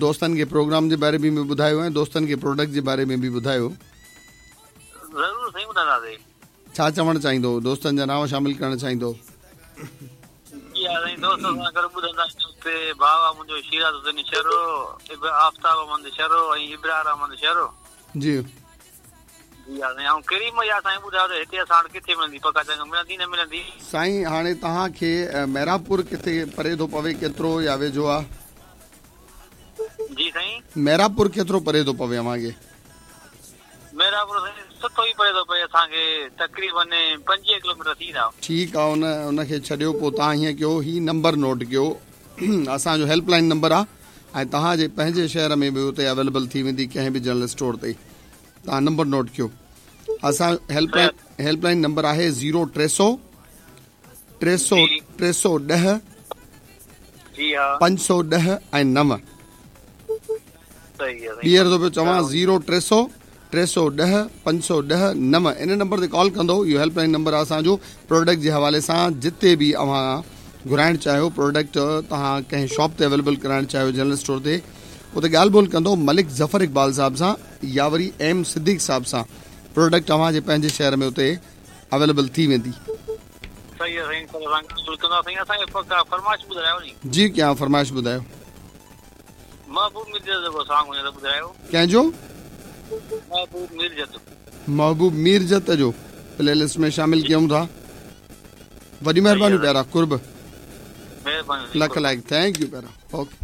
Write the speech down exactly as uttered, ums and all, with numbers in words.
دوستن کي پروگرام جي باري ۾ به ٻڌايو ۽ دوستن کي پروڊڪٽ جي باري ۾ به ٻڌايو. ضرور سائين ٻڌائينداسين. ڇا چوڻ چاهيندو؟ دوستن جا نانءُ شامل ڪرڻ چاهيندو؟ جي ها سائين، دوست سان گڏ ٻڌندا آهيون. اتي ڀاءُ آهي منهنجو شيراز حسين شر، آفتاب احمد شر ۽ ابرار احمد شر. جي جي ها سائين. ۽ ڪريم يا سائين ٻڌايو ته هتي اسان وٽ ڪٿي ملندي؟ پڪا چنگ ملندي نه ملندي؟ سائين هاڻي توهان کي ميراپور ڪٿي پري ٿو پوي، ڪيترو يا ويجهو آهي؟ جي سائين، ميراپور ڪيترو پري ٿو پوي اوهان کي؟ ميراپور سائين سٺو ئي پري ٿو پئي اسان کي، تقريبن پنجويهه ڪلو ميٽر ٿيندا. ٺيڪ آهي، ان ان کي ڇڏيو. پوءِ توهان هيئن ڪيو، هيءُ نمبر نوٽ ڪيو، اسان جو هيلپ لائن نمبر آهي ۽ توهان جي پنهنجي شهر ۾ به اتي اويليبل ٿي ويندي ڪنهن به جنرل اسٽور تي. توهان نمبر نوٽ ڪيو، اسان help line help line number آهي زيرو ٽي سؤ ٽي سؤ ٽي سؤ ڏهه پنج سؤ ڏهه ۽ نو. ٻيهر ٿو پيو چوان، زيرو ٽي سؤ ٽي سؤ ڏهه پنج سؤ ڏهه نو. ان نمبر تي ڪال ڪندو. اهو هيلپ لائن نمبر آهي اسان جو. پروڊڪٽ جي حوالي سان جتي به اوهان گهرائڻ چاهيو پروڊڪٽ، توهان ڪنهن شاپ تي اويليبل ڪرائڻ چاهيو، جنرل اسٽور تي، اتي ڳالهه ٻولهه ڪندو ملڪ ظفر اقبال صاحب سان يا وري ايم صديق صاحب سان. پروڊڪٽ اوهان جي پنهنجي شهر ۾ اتي اويليبل ٿي ويندي. صحيح آهي سائين، سائين اسان کي فرمائش ٻڌايو ني. جي ڪيان فرمائش ٻڌايو. محبوب ميرجت جو سانگ هجي ته ٻڌايو. ڪنهن جو؟ محبوب ميرجت. محبوب ميرجت جو پلي لسٽ ۾ شامل ڪيون ٿا. وڏي مهرباني پيارا، قرب. مهرباني. لک لائق، thank you پيارا. اوڪي.